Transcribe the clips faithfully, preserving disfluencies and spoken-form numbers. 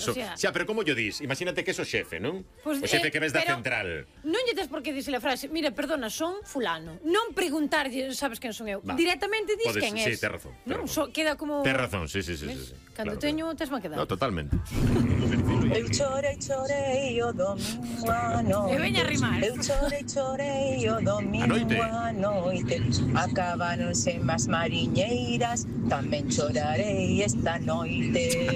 So, O sea, xa, pero como yo dis? Imagínate que es o xefe, non? Pues, O xefe eh, que ves da pero central. Non lle tes por que dicir a frase, mira, perdona, son fulano. Non preguntarlle, sabes quen son eu. Va. Directamente dis Podes- quen sí, es. tes razón, tes Non, razón. so, queda como... Tes razón, sí, sí, sí, sí, sí. Cando Claro, teño, tes má quedar. No, totalmente. Eu chorei, chorei o domingo a noite. E veña a rimar. Eu chorei, chorei o domingo A noite. a noite. Acabáronse más mariñeiras, tamén chorarei esta noite.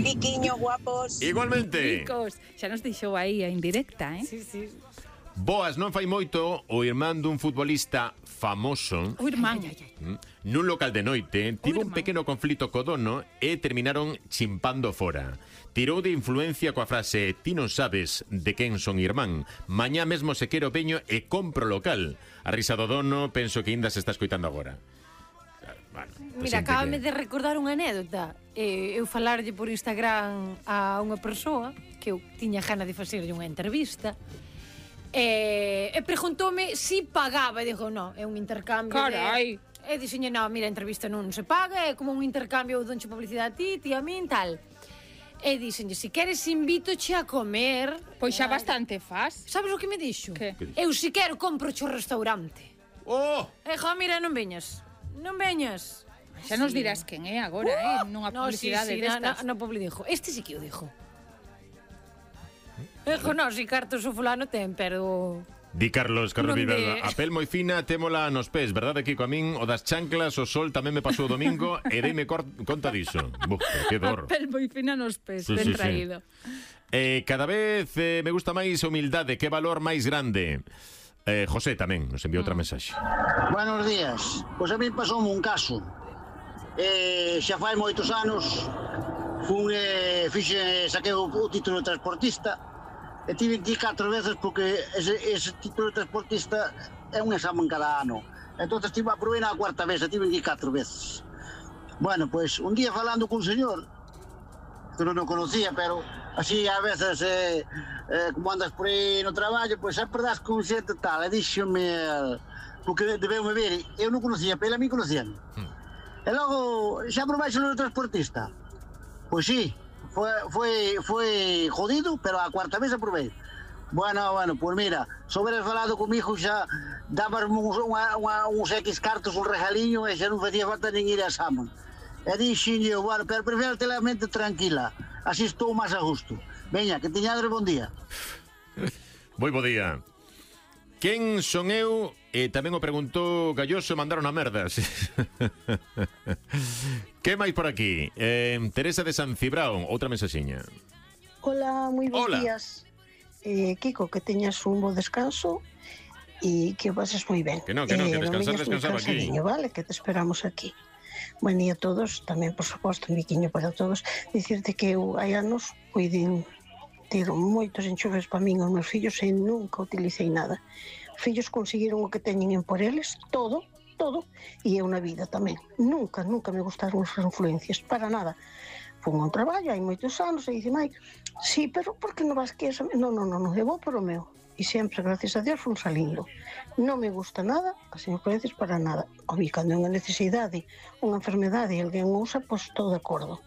Biquiño guapos. Igualmente. Chicos, xa nos deixou aí a indirecta, eh? Sí, sí. Boas, non fai moito o irmán dun futbolista famoso O irmán. Ai, ai, ai. mm, nun local de noite tivo un irmán. pequeno conflito co dono e terminaron chimpando fora. Tirou de influencia coa frase ti non sabes de quen son irmán, mañá mesmo se quero veño e compro local. A risa do dono penso que ainda se está escoitando agora. Bueno, pues Mira, xente acábame que- de recordar unha anécdota. Eh, eu falarlle por Instagram a unha persoa que eu tiña gana de facerlle unha entrevista. E, e preguntoume si pagaba. E dixo, no, é un intercambio. Carai. De... E dixenlle, no, mira, a entrevista non se paga, é como un intercambio, eu donche publicidade a ti, ti a min, tal. E dixenlle, si queres invítoche a comer. Pois xa Ai, bastante faz. Sabes o que me dixo? Que? Eu si quero compro cho restaurante. Oh! E jo, mira, non veñas. Non veñas. Xa nos dirás quen é agora, eh? Nunha No, sí, publicidade sí, na, destas. na, na publi dixo. Este sí que o dixo. Dixo, no, si cartos o fulano ten, pero... Di Carlos, Carlos Non Vilalba, de- a pel moi fina, témola nos pés, verdade, Kiko? A min, o das chanclas, o sol tamén me pasou o domingo e deime cor- conta diso. Buf, que dor. A pel moi fina nos pés, Sí, ben sí, sí. traído. Eh, cada vez eh, me gusta máis a humildade, que valor máis grande. Eh, José tamén nos enviou outra mensaxe. Buenos días. Pois a mí pasoume un caso. Eh, xa fai moitos anos fun eh, fixe, saquei o, o título de transportista e tive que ir catro veces porque ese, ese título de transportista é un examen cada ano. Entonces tive a probei na cuarta vez e tive que ir catro veces. Bueno, pois un día falando cun señor que non o conocía, pero así a veces eh, eh, como andas por aí no traballo, pois sempre das con xente tal, e díxome porque debeu-me ver, eu non conocía, pero a mí conocían. E logo, xa probaixo no transportista? Pois sí, foi, foi, foi jodido, pero a cuarta vez aprobei. Bueno, bueno, pois mira, se houberas falado comigo xa dabas uns, unha, unha, uns X cartos, un regaliño e xa non facía falta nin ir a examen. E dixenlle, bueno, pero prefiro ter a mente tranquila, así estou máis a gusto. Veña, que teñades bon día. Moi bo día. Quen son eu? E tamén o preguntou Galloso e mandaron a merda. Sí. Que máis por aquí? Eh, Teresa de San Cibrao, outra mensaxiña. Hola, moi bons Hola. días. Eh, Kiko, que teñas un bo descanso e que o pases moi ben. Que non, que non, que Eh, descansar, veñas moi descansar aquí. cansadiño, vale, que te esperamos aquí. Buen día a todos, tamén, por suposto, un biquiño para todos. Dicirte que eu hai anos puidin ter moitos enchufes para min os meus fillos e nunca utilicei nada. Os fillos conseguiron o que teñen en por eles, todo, todo, e eu na vida tamén. Nunca, nunca me gustaron as influencias, para nada. Fun a un traballo hai moitos anos e dice, mai, sí, pero por que non vas que esa... Non, non, non, eu vou por o meu. E sempre, gracias a Dios, fun salindo. Non me gusta nada, as influencias para nada. O vi, cando é unha necesidade, unha enfermedade e alguén usa, pois estou de acordo.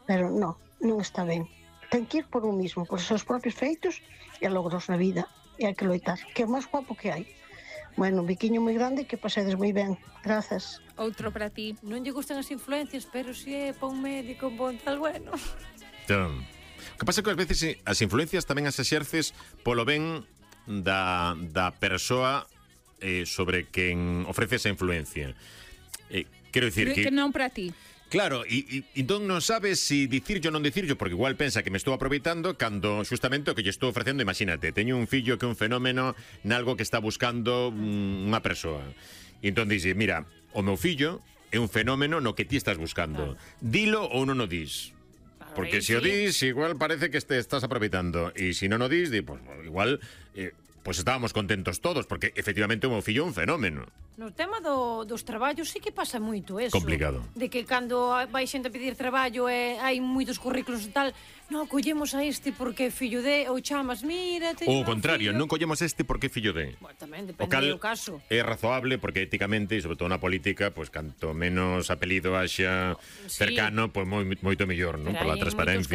Pero non, non está ben. Ten que ir por un mismo, por os seus propios feitos e logros na vida. E hai que loitar, que é o máis guapo que hai. Bueno, un biquiño moi grande que pasedes moi ben. Grazas. Outro para ti. Non lle gustan as influencias, pero si é pa un médico, un bon tal, bueno. Entón, o que pasa é que ás veces eh, as influencias tamén as exerces polo ben da, da persoa eh, sobre quen ofrece esa influencia. Eh, quero dicir Que, que... que non para ti. Claro, e, e entón non sabes si dicirlo ou non dicirlo, porque igual pensa que me estou aproveitando cando xustamente o que lle estou ofrecendo, imagínate, teño un fillo que é un fenómeno nalgo que está buscando mm, unha persoa. E entón dixe, mira, o meu fillo é un fenómeno no que ti estás buscando. Dilo ou non o dis. Porque se o dis, igual parece que te estás aproveitando. E se non o dis, di, pues, igual... Eh, pois estábamos contentos todos, porque efectivamente o meu fillo é un fenómeno. No tema do, dos traballos sí que pasa moito eso. Complicado. De que cando vai xente a pedir traballo e hai moitos currículos e tal, non, collemos a este porque é fillo de, ou chamas, mira, O teño un contrario, fillo. non collemos este porque é fillo de. Bueno, tamén O depende cal do caso. é razoable porque éticamente, e sobre todo na política, pois canto menos apelido haxa Sí. cercano, pois moi, moito mellor, non? Pero Por la hai en moitos transparencia.